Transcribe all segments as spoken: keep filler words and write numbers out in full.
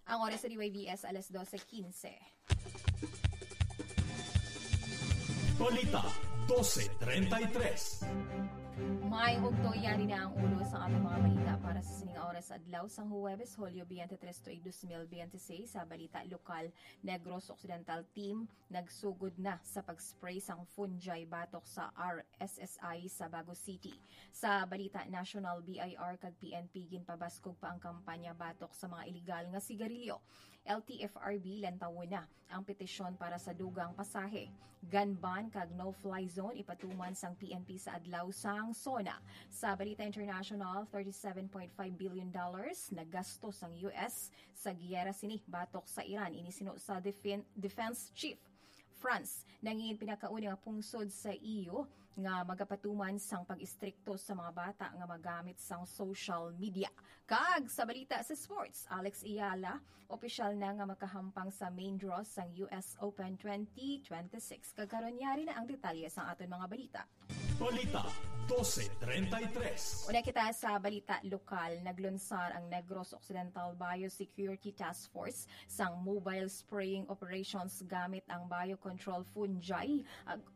Ang oras sa D Y V S, alas dose quince. Balita, dose treinta y tres. May ugto, yari na ang ulo sa among mga balita para sa sining oras adlaw sang Huwebes, Hulyo twenty-three tuig dos mil twenty-six. Sa balita lokal, Negros Occidental team nagsugod na sa pag-spray sang fungi batok sa R S S I sa Bago City. Sa balita national, B I R kag P N P ginpabaskog pa ang kampanya batok sa mga iligal nga sigarilyo. L T F R B lantawon na ang petisyon para sa dugang pasahe, gun ban kag no-fly zone ipatuman sang P N P sa adlaw sang SONA. Sa balita international, thirty-seven point five billion dollars nagasto sang U S sa giyera sini batok sa Iran, ini sinuno sa defen-, defense chief. France, nangin pinakauna nga pungsod sa E U nga magapatuman sang pag-istrikto sa mga bata nga magamit sang social media. Kag sa balita sa sports, Alex Eala, opisyal na nga makahampang sa main draw sang U S Open twenty twenty-six. Kag karon, yari na ang detalye sang aton mga balita. Balita, dose treinta y tres. Una kita sa balita lokal. Naglunsar ang Negros Occidental Biosecurity Task Force sang mobile spraying operations gamit ang biocontrol fungi. Ag-,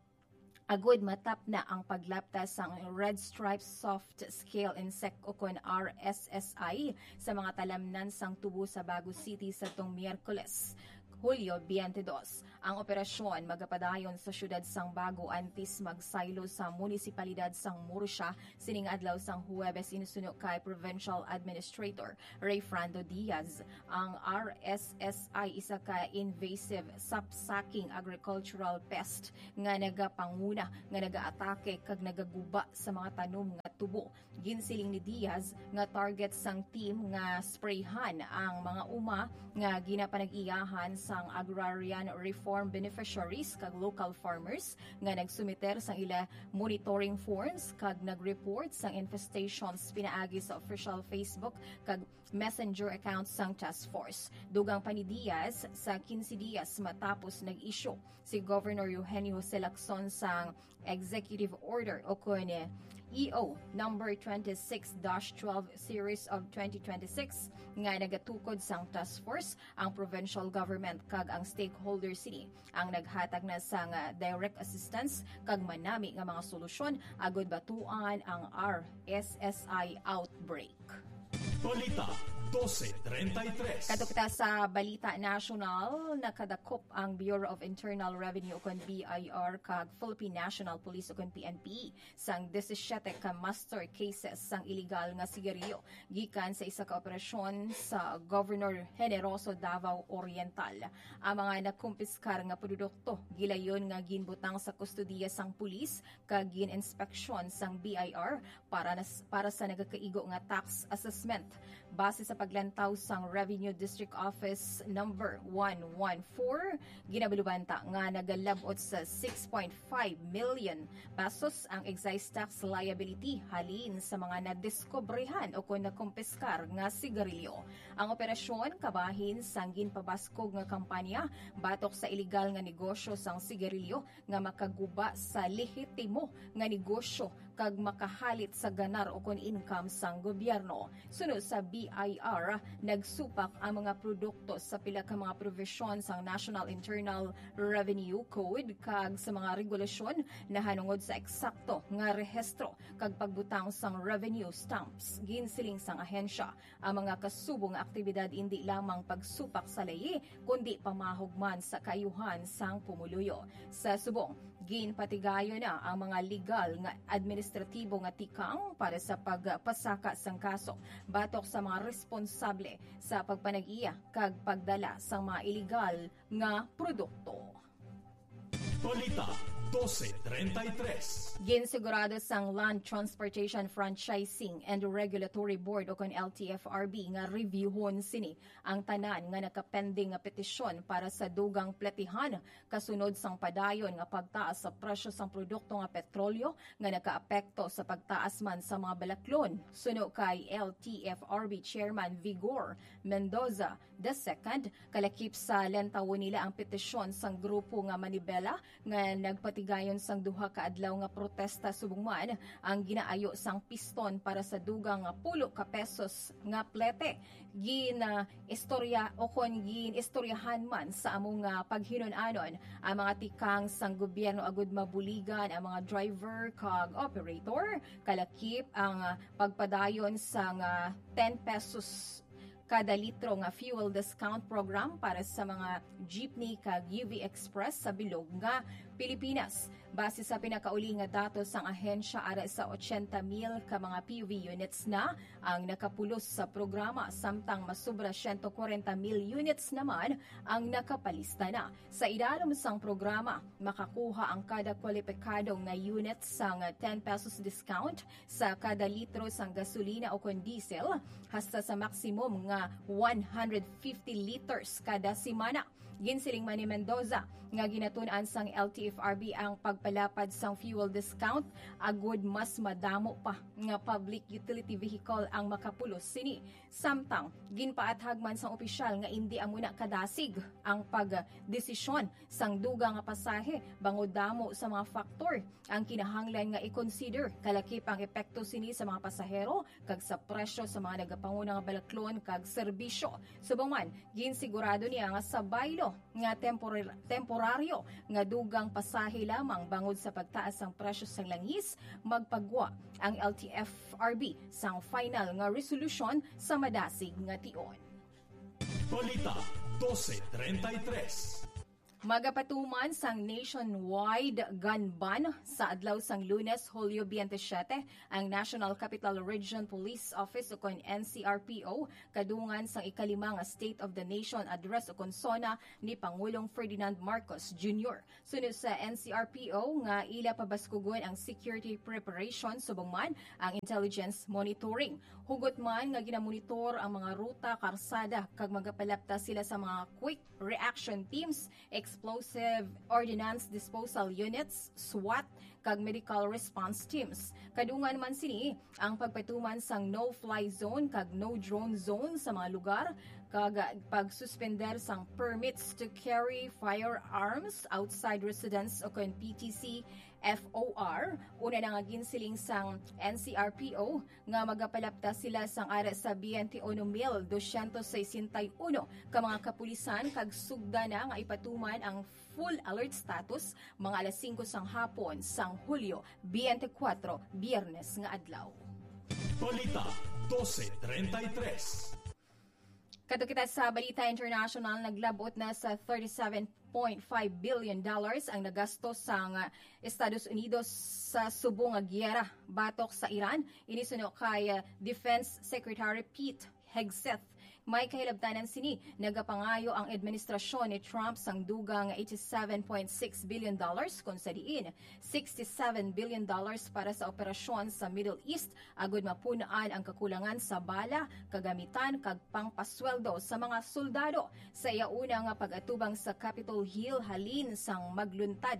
agud matapna ang paglapta sang Red Stripe Soft Scale Insect ukon R S S I sa mga talamnan sang tubo sa Bago City sa tong Miyerkules, Hulyo twenty-two. Ang operasyon magapadayon sa siyudad sang Bago antes magsaylo sa munisipalidad sang Murcia sining adlaw sang Huwebes, ini suno kay Provincial Administrator Rayfrando Diaz. Ang R S S I isa ka invasive sapsucking agricultural pest nga nagapanguna, nga nagaatake kag nagaguba sa mga tanom nga tubo. Ginsiling ni Diaz nga target sang team nga sprayhan ang mga uma nga ginapanag-iyahan sang agrarian reform beneficiaries kag local farmers nga nagsumiter sang ila monitoring forms kag nag-report sang infestations pinaagi sa official Facebook kag Messenger accounts sang task force. Dugang pa ni Diaz, sa quince dias matapos nag-issue si Governor Eugenio Jose Lacson sang Executive Order o kun E O number twenty-six dash twelve series of twenty twenty-six nga nagatukod sang task force, ang provincial government kag ang stakeholders sini ang naghatag na sang, ah, direct assistance kag manami nga mga solusyon agud batuan ang R S S I outbreak. Balita, dose treinta y tres. Kadto kita sa balita nasyonal, nakadakop ang Bureau of Internal Revenue ukon B I R kag Philippine National Police ukon P N P sang disisiete ka master cases sang iligal nga sigarilyo gikan sa isa ka operasyon sa Governor Generoso, Davao Oriental. Ang mga nakumpiskar nga produkto gilayon nga ginbutang sa kustodiya sang pulis kag gin-inspeksyon sang B I R para nas-, para sa nagakaigo nga tax assessment. Base sa paglantaw sang Revenue District Office Number one one four, ginabaluan ta nga nagalab-ot sa six point five million pesos ang excise tax liability halin sa mga nadiskobrehan o kon nakumpiskar nga sigarilyo. Ang operasyon kabahin sang ginpabaskog nga kampanya batok sa iligal nga negosyo sang sigarilyo nga makaguba sa lehitimo nga negosyo kag makahalit sa ganar ukon income sang gobyerno. Suno sa B I R, nagsupak ang mga produkto sa pila ka mga probisyon sang National Internal Revenue Code kag sa mga regulasyon nahanungod sa eksakto nga rehistro kag pagbutang sang revenue stamps. Ginsiling sang ahensya, ang mga kasubo nga aktibidad indi lamang pagsupak sa ley, kundi pamahog man sa kaayuhan sang pumuluyo. Sa subong, ginpatigayon na ang mga legal nga administratibo nga tikang para sa pagpasaka sang kaso batok sa mga responsable sa pagpanag-iya kag pagdala sang mga iligal nga produkto. Balita, dose treinta y tres. Ginsigurado sang Land Transportation Franchising and Regulatory Board o kon L T F R B nga reviewhon sini ang tanan nga nakapending nga petisyon para sa dugang platihan kasunod sang padayon nga pagtaas sa presyo sang produkto nga petrolyo nga nakaapekto sa pagtaas man sa mga balaklon. Suno kay L T F R B Chairman Vigor Mendoza the second, kalakip sa lantawon nila ang petisyon sang grupo nga Manibela nga nagpati Higayon sang duha ka adlaw nga protesta subong man ang ginaayo sang piston para sa dugang nga pulo ka pesos nga plete, gin, ah, istorya o kon gin-istoryahan man sa amo nga paghinun-anon ang mga tikang sang gobyerno agud mabuligan ang mga driver kag operator, kalakip ang, ah, pagpadayon sang, ah, ten pesos kada litro nga fuel discount program para sa mga jeepney kag U V Express sa bilog nga Pilipinas. Base sa pinakauli nga datos sang ahensya, ara sa ochenta mil ka mga P U V units na ang nakapulos sa programa, samtang masubra siyento kwarenta mil units naman ang nakapalista na. Sa ilarom sang programa, makakuha ang kada kwalipikado nga unit sang ten pesos discount sa kada litro sang gasolina o kon diesel, hasta sa maximum nga one hundred fifty liters kada semana. Ginsiling man ni Mendoza nga ginatun-an sang L T F R B ang pagpalapad sang fuel discount agud mas madamo pa nga public utility vehicle ang makapulos sini. Samtang, ginpaathag man sang opisyal nga indi amo na kadasig ang pagdesisyon sang dugang nga pasahe bangod damo sa mga faktor ang kinahanglan nga i-consider, kalakip ang epekto sini sa mga pasahero kag sa presyo sa mga nagapanguna nga balaklon kag serbisyo. Subong man, ginsigurado niya nga sa baylo nga tempor-, temporaryo nga dugang pasahe lamang bangod sa pagtaas sang presyo sang langis, magpagwa ang L T F R B sang final nga resolusyon sa madasig nga tion. Balita dose treinta y tres. Magapatuman sang nationwide gun ban sa adlaw sang Lunes, Hulyo twenty-seven, ang National Capital Region Police Office ukon N C R P O, kadungan sang ikalima nga State of the Nation Address ukon SONA ni Pangulong Ferdinand Marcos Junior. Suno sa N C R P O nga ila pabaskugon ang security preparation subong man ang intelligence monitoring. Hugot man nga ginamonitor ang mga ruta, karsada, kag magapalapta sila sa mga quick reaction teams, explosive ordnance disposal units, SWAT, kag medical response teams. Kadungan man sini ang pagpatuman sang no-fly zone kag no-drone zone sa mga lugar, kag pagsuspender sang permits to carry firearms outside residence ukon P T C F O R. Una na nga ginsiling sang N C R P O nga magapalapta sila sang ara sa twenty-one mil dosyentos sesenta y uno ka mga kapulisan kag sugda na nga ipatuman ang full alert status mga alas singko sang hapon sang Hulyo twenty-four, Biyernes nga adlaw. Balita dose treinta y tres. Kadto kita sa balita international, naglabot na sa thirty-seven point five billion dollars ang nagastos sang, ah, Estados Unidos sa subong nga giyera batok sa Iran. Ini suno kay, ah, Defense Secretary Pete Hegseth. May kahilabtanan sini, nagapangayo ang administrasyon ni Trump sang dugang eighty-seven point six billion dollars, kung sa diin sixty-seven billion dollars para sa operasyon sa Middle East agud mapun-an ang kakulangan sa bala, kagamitan, kag pangpasweldo sa mga soldado. Sa iya una nga pag-atubang sa Capitol Hill halin sang magluntad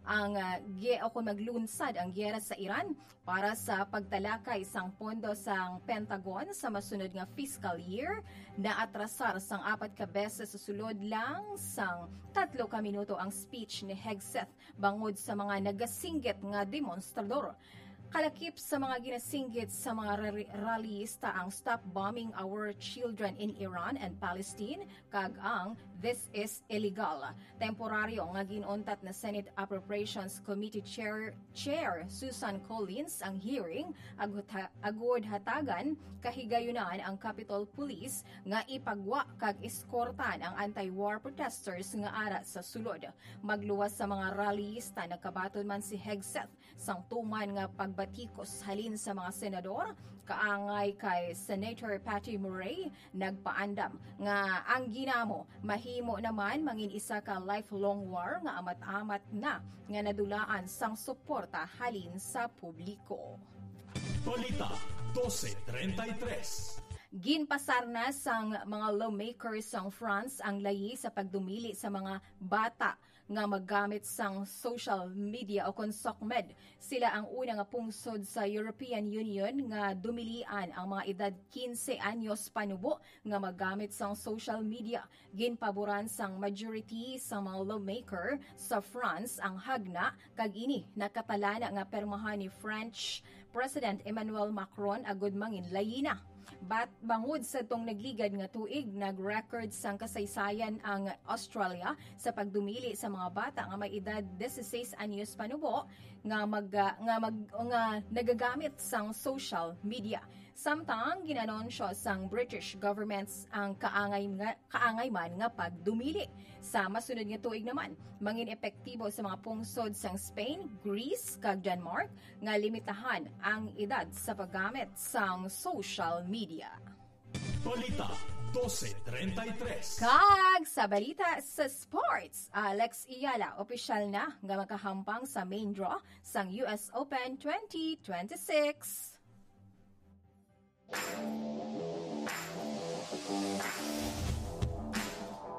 ang, ah, ge-, o kung maglunsad ang giyera sa Iran, para sa pagtalakay sang pondo sang Pentagon sa masunod nga fiscal year, naatrasar sang apat ka beses sa sulod lang sang tatlo ka minuto ang speech ni Hegseth bangod sa mga nagasinggit nga demonstrador. Kalakip sa mga ginasinggit sa mga rally-, rallyista ang Stop Bombing Our Children in Iran and Palestine kag ang This is Illegal. Temporaryo nga gin-untat na Senate Appropriations Committee Chair, Chair Susan Collins ang hearing, agud ha-, agud hatagan kahigayunan ang Capitol Police nga ipagwa kag eskortan ang anti-war protesters nga ara sa sulod. Magluwas sa mga rallyista, nagkabaton man si Hegseth sang tuman nga pagbatikos halin sa mga senador, kaangay kay Senator Patty Murray, nagpaandam nga ang ginamo mahimo naman mangin isa ka lifelong war nga amat-amat na nga nadulaan sang suporta halin sa publiko. Balita dose treinta y tres. Ginpasar na sang mga lawmakers sang France ang layi sa pagdumili sa mga bata nga maggamit sang social media o kon SOCMED. Sila ang una nga pungsod sa European Union nga dumilian ang mga edad quince anyos panubo nga maggamit sang social media. Ginpaboran sang majority sa mga lawmaker sa France ang hagna, kag ini nakatalana nga permahan ni French President Emmanuel Macron agud manginlayina. Bat bangod sa tong nagligad nga tuig, nag-record sang kasaysayan ang Australia sa pagdumili sa mga bata nga may edad dieciséis anyos panubo nga mag, nga mag, nga nagagamit sang social media. Samtang ginanunsyo sang British government ang kaangay nga, kaangay man nga pagdumili. Sa masunod nga tuig naman, mangin epektibo sa mga pungsod sang Spain, Greece, kag Denmark nga limitahan ang edad sa paggamit sang social media. Balita dose treinta y tres. Kag sa balita sa sports, Alex Eala opisyal na nga makahampang sa main draw sang U S Open twenty twenty-six.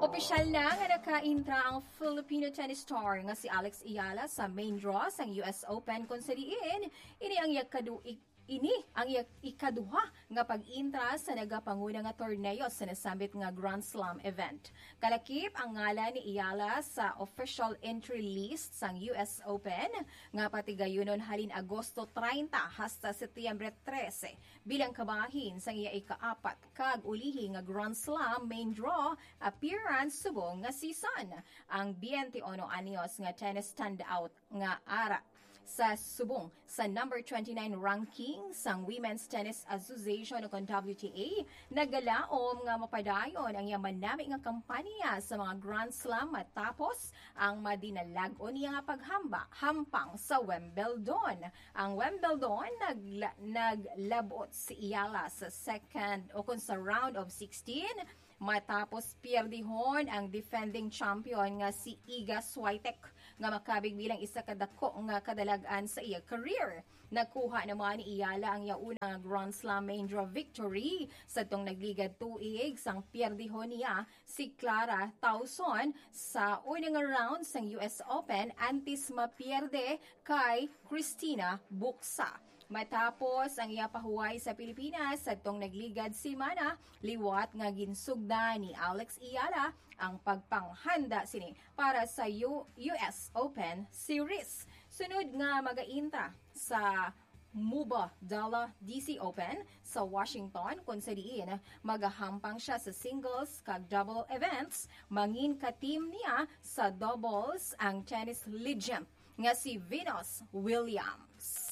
Opisyal na nga nakaintra ang Filipino tennis star nga si Alex Eala sa main draw sang U S Open, kung sa diin ini ang iya kadu-, i-, ini ang iya ikaduha nga pag-intra sa nagapanguna nga torneo sa nasambit nga Grand Slam event. Kalakip ang ngalan ni Eala sa official entry list sang U S Open nga patigayunon halin Agosto treinta hasta Setyembre trese, bilang kabahin sang iya ikaapat kag ulihi nga Grand Slam main draw appearance subong nga season. Ang twenty-one anyos nga tennis standout nga ara sa subong sa number twenty-nine ranking sang Women's Tennis Association o kon W T A, nagalaom nga mapadayon ang iya manami nga kampanya sa mga Grand Slam matapos ang madinalag-on niya nga paghamba hampang sa Wimbledon. Ang Wimbledon nagla-, naglabot si Eala sa second o kon sa round of sixteen matapos pierdihon ang defending champion nga si Iga Swiatek, nga makabig bilang isa ka dako nga kadalag-an sa iya career. Nakuha naman ni Eala ang iya una nga Grand Slam main draw victory sa tong nagligad tuig sang pierdihon niya si Clara Tauson sa una nga round sang U S Open antes mapierde kay Christina Bucsa. Matapos ang iya pahuway sa Pilipinas sadtong nagligad semana, liwat nga ginsugdan ni Alex Eala ang pagpanghanda sini para sa U-, U S Open Series. Sunod nga magaintra sa Mubadala D C Open sa Washington, kung sa diin magahampang siya sa singles kag double events, mangin ka-team niya sa doubles ang tennis legend nga si Venus Williams.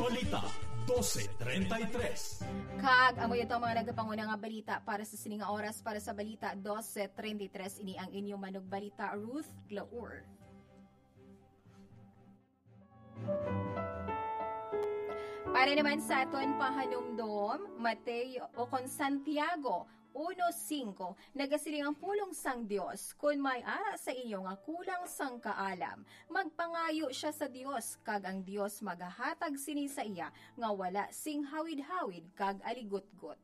Balita dose treinta y tres. Kag amo ito ang mga nagapanguna nga balita para sa sini nga oras. Para sa Balita dose treinta y tres, ini ang inyong manugbalita, Ruth Glaur. Para naman sa aton pahanumdom, Mateo o kon Santiago uno cinco, nagasiling ang pulong sang Dios: "Kon may ara sa inyo nga kulang sang kaalam, magpangayo sia sa Dios, kag ang Dios magahatag sini sa iya nga wala sing hawid-hawid kag aligutgot."